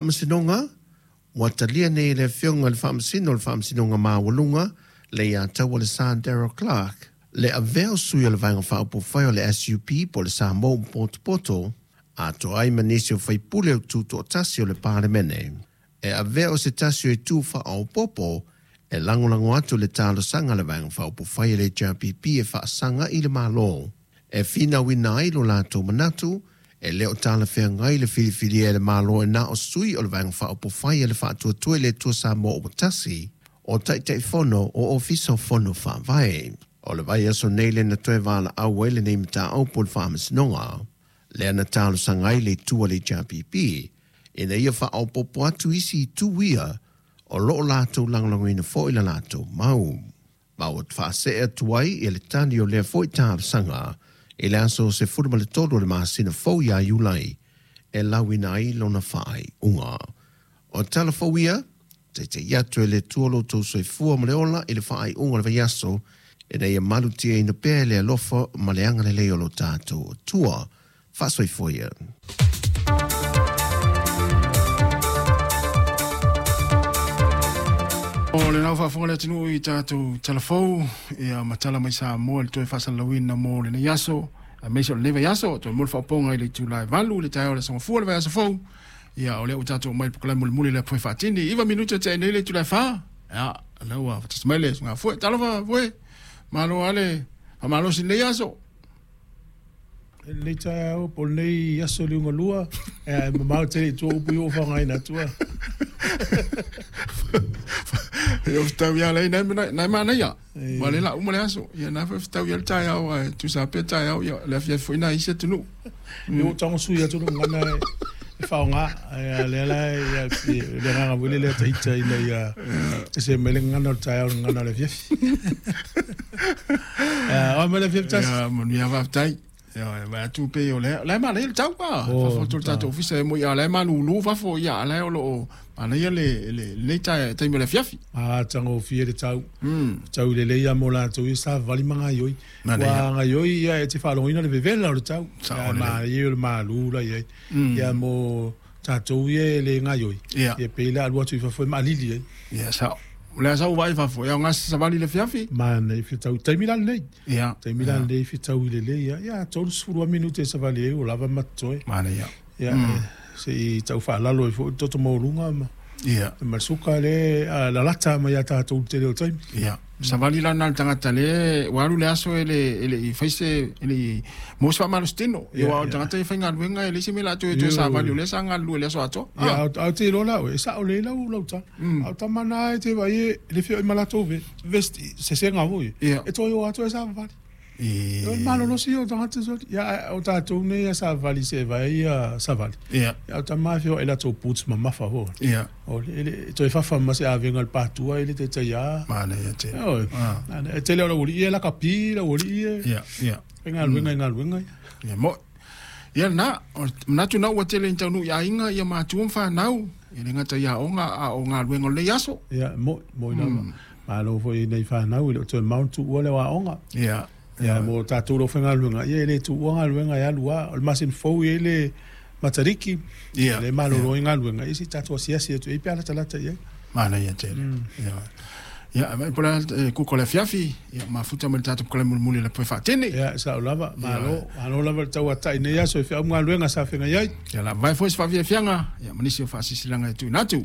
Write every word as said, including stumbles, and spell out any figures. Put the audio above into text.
Faamasinoga ua talia nei e le Afioga i le Faamasino o le Faamasinoga Maualuga le iā taua le Sa Daryl Clark le avea o sui o le Vaega Faaupufai o le S U P po o le Samoa ua potopoto atoa ai ma nisi o faipule o tutoatasi o le Palemene. E avea o se tasi o itu faaopoopo e lagolago atu le talosaga a le Vaega Faaupufai a le H R P P e faasaga i le Malo. E finauina ai lo latou manatu e le o talafeagai le filifilia e le Malo e na o sui o le Vaega Faaupufai a le Faatuatua i le Atua Samoa ua tasi o Taitaifono o Ofisa o Fono Faavae. O le vaiaso nei le na toe valaau ai lenei mataupu o le Faamasinoga. Lea na talosaga ai le itu a le H R P P ina ia faaopoopo atu isi itu ia o loo latou lagolagoina foi la latou mau. Ma ua faasee atu ai ia le tali o lea foi talosaga i le aso sefulu ma le tolu o le masina fou ia Iulai e lauina ai lona faaiuga. O tala fou ia, teitei atu e le Atua lo outou soifua ma le ola i le faaiuga o le vaiaso, ina ia malutiaina pea e le alofa ma le agalelei o lo tatou Atua. Faasoifua ia. O le nau faafofoga le atunuu i tatou talafou, ia matala mai Samoa le toe faasalalauina mo lenei aso, aemaise o lenei vaiaso, toe mo le faaopooga i le itula e valu, le taeao o le aso Gafua le vaiaso fou, ia o lea ua tatou mai le polokalame mulimuli le apoe faatini, iva minute tea nei le itula e fa, ia, lea ua faatasi mai le susuga Fue, talofa Fue, malo ale, faamalosi lenei aso. Lenei taeao, po o lenei aso le ugalua, e mamao tele i tua upu i o whangaina atua. E o whitau ia lei, nai nai manaia. Wa le la uma le aso. Ia nai whitau ia le taeao, e tusa pea taeao, ia le afia foi nai isi atunuu. E o tango sui atu ngana e whaonga, e le la ia le nganga wele le taita ina ia se mele ngana o taeao ngana le fiafi. O mele fiafi tasi. Ia manuia whaftai. Ia ma tu pe o le le ma le tau pa fa fo tau ofisa mo ia le ma lulu fa fo ia le o lo ana ia le le le ta ta le fiafi a tango fie le tau tau le le ia mo la tu sa vali manga yoi wa nga yoi ia e te fa lo ina le vevela o le tau ma ia le ma lu la ia ia mo ta tu ia le nga yoi ia pe la lu tu fa fo ma lili ia sa le sa vai fa fo ia nga sa vali le fiafi ma nei fi tau taimi la nei ia taimi la nei fi tau le le ia ia tolu sefulu minute sa vali o lava matoe ma nei ia ia se i tau fa lalo i fo toto maulunga ma ia ma suka le la lata ma ia ta tau tele o taimi ia sa vali la na tangata le walu le aso ele ele i faise ele mo sa malostino ia wa tangata i fainga luenga ele se mela tu tu sa vali le sa ngalu le aso ato ia au te lola e sa o le lau lau ta au ta mana e te vai le fio malato ve vesti se se ngavo e to yo ato sa vali e o malo no si o tangata so ia o ta tu ne sa vali se vai sa vali ia au ta ma fio ela to puts mama fa ho ia o ele to fa fa ma se avenga al patua ele te te ia ma ne ia te o e te le o ia la kapi la o ia ia ia nga luenga nga luenga ia mo ia na na tu na o te le tau ia inga ia ma tu fa nau ia le ngata ia onga a o nga luenga le aso ia mo mo ina ma lo fo nei fa nau le to mount tu o le wa onga ia ia mo ta tu lo fenga luenga ia le tu onga luenga ia lua o le masin fo ia le matariki ia le malo lo inga luenga isi ta tu sia sia tu e pala talata ia ma na ia te ia ia ma pola ku ko le fiafi ia ma futa mo ta tu ko le mulmuli le fa tene ia sa lava malo malo lava tau atai nei aso e fa unga luenga sa fenga ia ia la vai fo fa fianga ia manisi fa sisilanga tu natu.